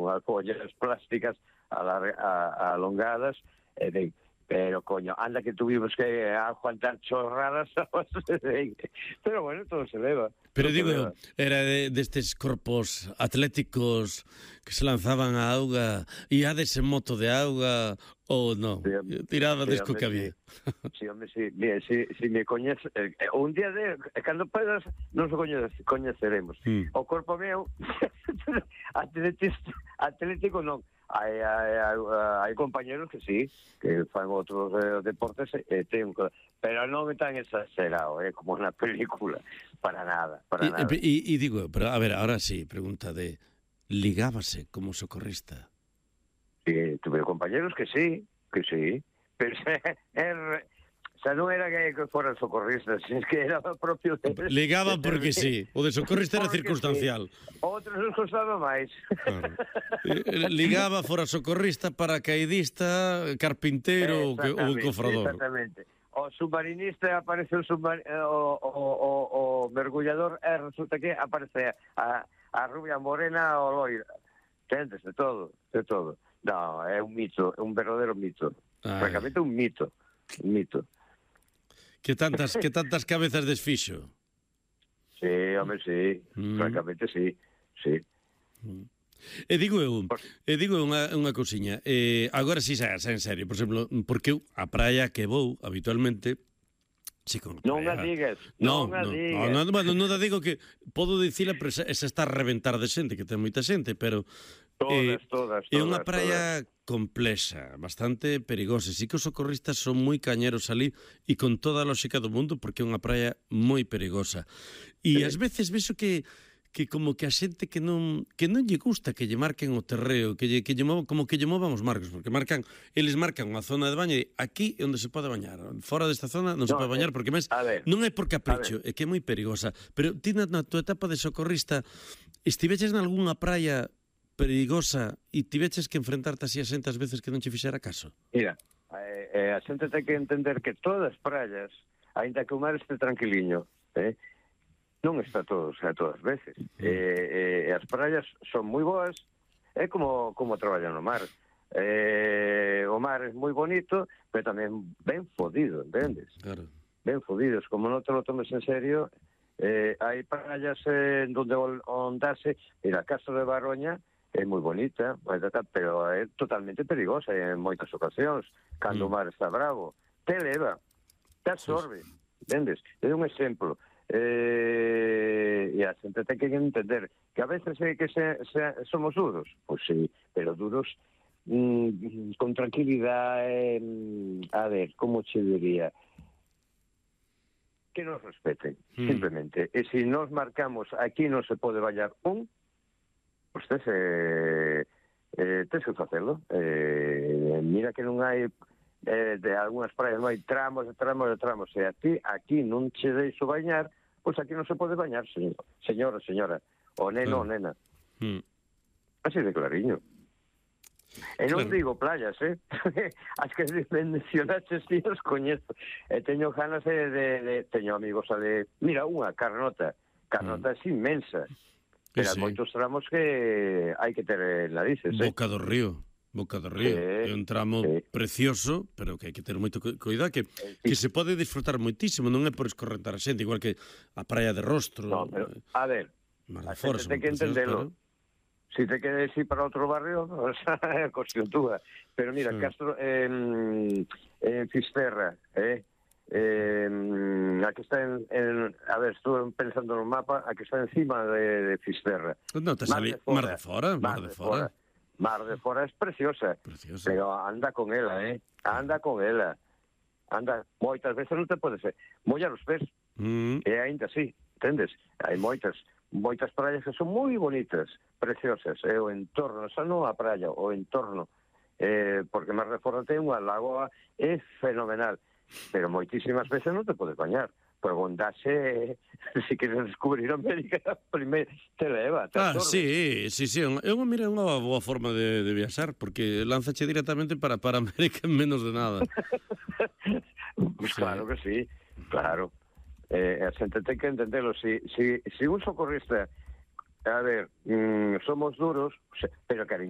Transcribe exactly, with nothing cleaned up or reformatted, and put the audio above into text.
unhas follas plásticas alar- a- alongadas, e ben, pero, coño, anda que tuvimos que aguantar chorradas, pero bueno, todo se leva. Pero digo, era de, destes corpos atléticos que se lanzaban á auga, iades en moto de auga, ou non? Sí, Tiraba sí, desco hombre, que había. Sí, sí hombre, sí. Bien, si, si me coñeces, eh, un día de, eh, cando podas, non se coñece, coñeceremos. Mm. O corpo meu, atletista, atlético non. Hai, hai, hai, hai compañeros que sí, que fan outros eh, deportes, eh, ten, pero non é tan exagerado, eh, como na película. Para nada, para E, nada. e, e digo, pero a ver, ahora sí, pregunta de, ligábase como socorrista? Sí, tuve compañeros que sí, que sí, pero er, o sea, non era que fueran socorristas, es que era propio de... Ligaban porque de, sí, o de socorrista era porque circunstancial. Sí. Outros nos costaba máis. Claro. Ligaba fora socorrista, paracaidista, carpintero ou, que, ou cofrador. Exactamente. O submarinista aparece o, submar... o, o, o, o mergullador e resulta que aparece a, a rubia morena o loira. Entendes, de todo, de todo. No, é un mito, é un verdadeiro mito. Ai. Francamente un mito, un mito. Que tantas, que tantas cabezas desfixo. Sí, home, sí, mm. francamente sí, sí. Mm. E digo eu, e digo unha, unha cousiña, eh, agora si xa, xa en serio, por exemplo, porque eu a praia que vou habitualmente, si con non a digas, non, non a non, digas. Non, bueno, non a digo que podo dicila, pero esa está a reventar de xente, que ten moita xente, pero todas, eh, todas, todas, é unha praia todas. complexa, bastante perigosa. Si que os socorristas son moi cañeros ali e con toda a lógica do mundo, porque é unha praia moi perigosa. E sí. Ás veces vexo que que como que a xente que non que non lle gusta que lle marquen o terreo, que lle, que lle movan, como que lle movan os marcos, porque marcan, eles marcan unha zona de baño e aquí é onde se pode bañar, fora desta zona non se no, pode bañar, porque máis non é por capricho, é que é moi perigosa. Pero ti na, na tua etapa de socorrista estiveches nalgúnha praia perigosa e tiveches que enfrentarte así a xente ás veces que non che fixera caso? Mira, eh, eh, a xente ten que entender que todas as praias, aínda que o mar este tranquiliño, eh, non está todos a todas veces. Mm. Eh, eh, as praias son moi boas, é como como traballan no mar. Eh, o mar é moi bonito, pero tamén ben fodido, entendes? Claro. Ben fodidos, como non te lo tomes en serio. Eh, hai praias eh, onde ondase, mira, a Castro de Baroña é moi bonita, pero é totalmente perigosa en moitas ocasións, cando mm. o mar está bravo. Te leva, te absorbe, sí. Entendes? É un exemplo. Eh, e a xente ten que entender que a veces é que se, se, somos duros, pois sí, pero duros mm, con tranquilidade, mm, a ver, como che diría, que nos respeten, mm. simplemente. E se nos marcamos aquí non se pode bañar un, pois tes, eh, eh, tes que facelo. Eh, mira que non hai eh, de algunhas praias non hai tramos, tramos, tramos, e a ti aquí non che deixo bañar, pois aquí non se pode bañar, señor, señora, señora, o neno, o nena. Mm. Así de clariño. E non claro. Digo playas, eh? As que mencionaches si os coñezo. E teño ganas de, de, de... Teño amigos a de... Mira, unha, Carnota. Carnota mm. é inmensa. Pero sí. Hai moitos tramos que hai que ter narices, eh? Boca do Río. Boca do Río, sí, é un tramo sí. precioso, pero que hai que ter moito cuidado, que, sí. que se pode disfrutar moitísimo, non é por escorrentar a xente, igual que a praia de Rostro. No, pero, a ver, a xente ten que entendelo. Pero... Si te quedes ir para outro barrio, o sea, é cuestión túa. Pero mira, sí. Castro, en eh, Fisterra, eh, eh, a que está en, en... A ver, estuve pensando no mapa, a que está encima de, de Fisterra. Non te sali Mar de Fora, Mar de Fora. Mar de Fora é preciosa, preciosa, pero anda con ela, eh? Anda con ela. Anda, moitas veces non te podes mollar os pés. Mm. E ainda así, entendes? Hai moitas, moitas praias que son moi bonitas, preciosas, e o entorno, xa non a praia, o entorno, eh, porque Mar de Fora ten unha lagoa, é fenomenal, pero moitísimas veces non te podes bañar. Preguntase se queres descubrir América, primeiro te leva, te ah, sí, sí, sí, é unha, mira, unha boa forma de, de viaxar, porque lánzache directamente para, para América en menos de nada. Pues sí. Claro que sí, claro. Eh, a xente ten que entendelo. Si, si, si un socorrista, a ver, mmm, somos duros, pero cariño,